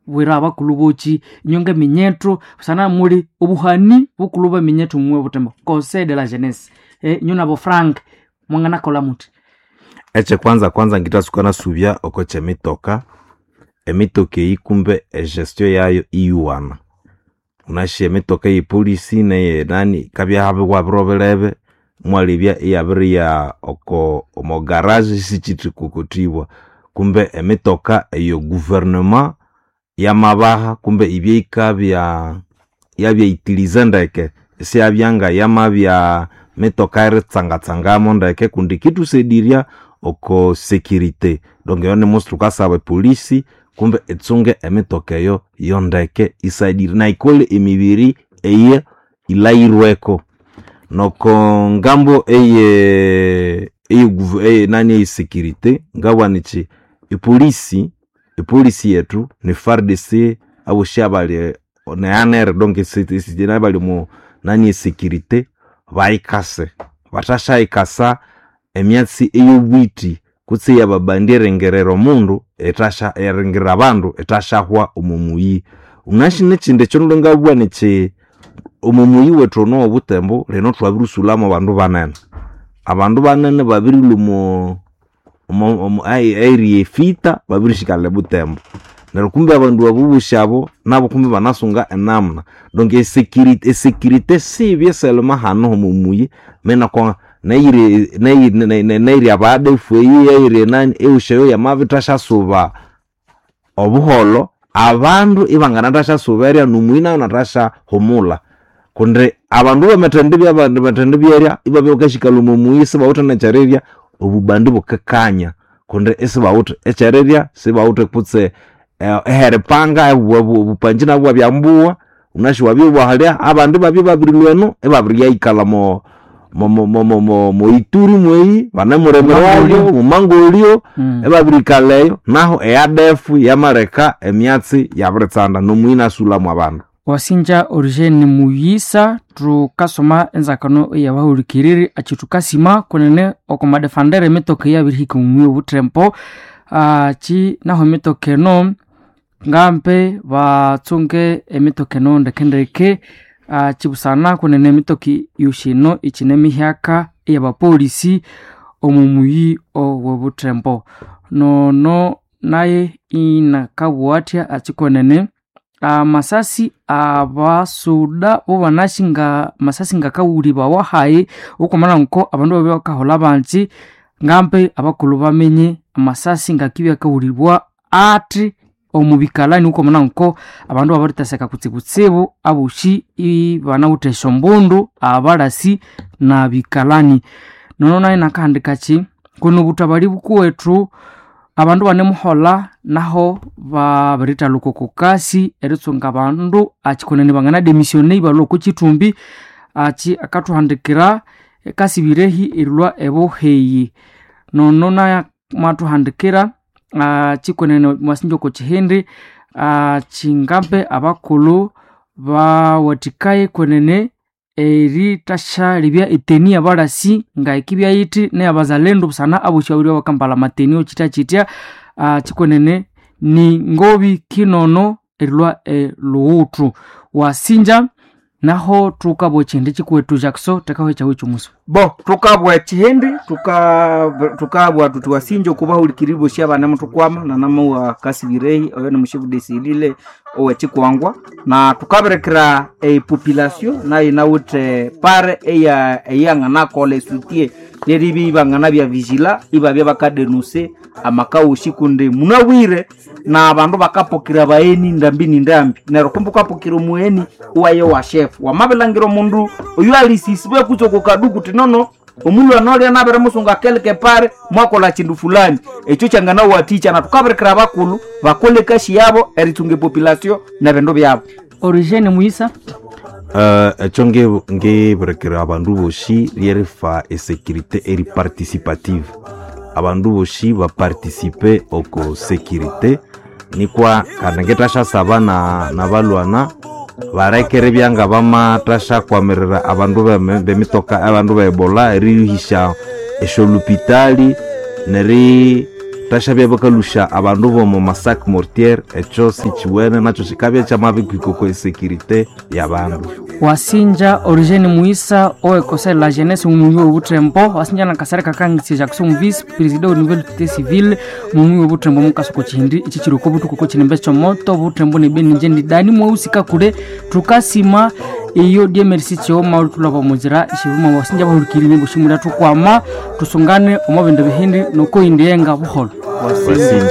bwira abakulhu boki inywe ngeminyethu busana muli obuhani bukulhu bweminyethu mwe Butembo, conseil de la jeunesse, inywe nabo Frank mwanganakolha muthi? Ekye kwanza kwanza ngitatsuka nasubya oko kyemitoka. Emitoka eyi kumbe egestion yayo iyuwana. Wunasi emitoka eye polisi neye nani ikabya iwabirobirebe mwalebya iyabiriya oko omo garage isikyithikokothibwa. Kumbe emitoka eyo gouvernement yamabaha kumbe ibye yikabya yabya utilize ndeke, isiyabya nga yamabya mitoka eritsangatsangamo ndeke kundi yikithusayidirya oko security. Donc eyo nimusi thukasaba epolisi kumbe itsunge emitoka eyo yondeke isayidire nayikolhe emibiri eya ilhaghirweko. Noko ngambo eye nani eye security ngabugha nyiti epolisi, epolisi yethu ne FARDC abosi abali ne ANR donc abali omo nani esecurity bayikase. Bathasyayikasa emyatsi eyobwiti kutse eyababandi eringira omundu ethasya eringira abandu ethashahwa omo muyi. Wunasi nekyindi ekyonulwe ngabugha nyiti omo muyi wethu ono owobutembo lino thwabirisulhamu abandu banene. Abandu banene babirilhwa omo omo area efita babirisikala ebutembo. Neryo kumbe abandu abo bosi abo nabo kumbe banasunga enamuna. Donc esecurity esecurity sibye selema hanu omo muyi menako neyiri neyiri abadefu eyi eyiri enani eyosi eyo yamabithasyasuba obuholho abandu ibanganathasya erya nomuyi nayo inathasya humula. Kundi abandu bamathendibya bamathendibya ibabya bakasikala omo muyi isibawithe nekyerirya obubandi bukikanya kundi isibawithe ekyerirya, sibawithe kutse eheripanga obupanji nabwo ibwabya mbuwa, wunasi wabya iwahalya abandi ibabya babirilhwa eno ibabiriyayikalha moituri mweyi banemulimirwayo mumangolyo ibabirikalha eyo nahu eadefu yamaleka emyatsi yabiritsanda nomuyi inasulhamu abandu. Wasinja Origene Muyisa, thukasoma enzakano eyabahulikiriri achi thukasima kunene oko madefandere emitoka eyabirihika omu obuthembo achi naho emitoka eno ngambe batsunge emitoka eno ndekendeke achi busana kunene emitoka yosi eno ichine mihyaka eyabapolisi omu muyi owobuthembo. Nono naye inakabugha athya achi kwenene amasasi abasuda bobanasi nga masasi ngakawulibawa hayi okwamana nko abandu babya bakaholha banji ngambe abakulhu bamenye amasasi ngakibya akawulibwa athi omu bikalani okwamana nko abandu babiriteseka kutsibutsibu abosi ibanawithe esyombundu abalasi na bikalani. Nono nayo inakahandika kuno obutabali bukuwethu abandu banemuholha naho babirithalhuka oko kasi eritsunga abandu achikonene bangana-demissione ibalhwa oko kyithumbi achi akathuhandikira kasibirehi erilhwa ebuheyi. Nono naye mwathuhandikira achikonene mwasinja oko kyihindi achingambe abakulhu bawathikaye kwenene erithashalebya eteni yabalasi ngayikibya yithi neyabazalendo busana abosi babiri bakambalha amateni okyityakyitya chikwenene ni ngobi kinono erilhwa elhughuthu. Wasinja naho thukabugha ekyihindi kyikuwethu Jackson thekaho ekyawu ekyomusa. Bo thukabugha ekyihindi thukabugha thuthi wasinja okubahulikiriri bosi abanemuthukwama nanamuwa kasibirehi oyo ni mushifu desilile owekyikwangwa na thukabirikira epopulation nayo yinawithe pare eya eyanganakolha esutie neribya ibanganabya vigila ibabya bakadenuse amakaghosi kundi munabwire na abandu bakapokera abagheni ndambi ni ndambi neryo kumbe wukapokera omugheni iwaya wa chef wamabilhangira omundu oyu alisisibe kutse oko kadu kuti nono omulhwana olya nabirimusunga kelke pare mwakolha kindu fulani ekyo kyanganawathikya na thukabirikira abakulhu bakolhe ekasi yabo eritsunga epopulation nebindu byabo. Origene Muyisa. Ekyo ngibirikira abandu bosi lyerifa esecurity eri participative. Abandu bosi baparticipe oko security nikwa kandi ngithasyasaba nabalhwana baleke eribya nga bamathashyakwamirira abandu bemitoka abandu be Ebola eriyuhisya esyolupitali neri Tashabya bakalusha abandu bomo masak mortier, ekyo sikiwene nakyo kikabya kyamabihika oko security yabandu. Wasinja Origene Muisa owe conseil la jeunesse mumuyi w'obutembo, wasinja na Kasare Kakangisi Jackson, vice president au niveau de civil mumuyi w'obutembo, mukasuko chihindi ichi chiri ko butuku ko chinembe chomoto butembo ne beni nje ndidani mweusi kakule. Tukasima iyo die merci chioma ulitulaba muzira ishiruma. Wasinja bahulikirire bushimula, tukwama tusungane omo bindu bihindi noko indienga buholo. Wasinja.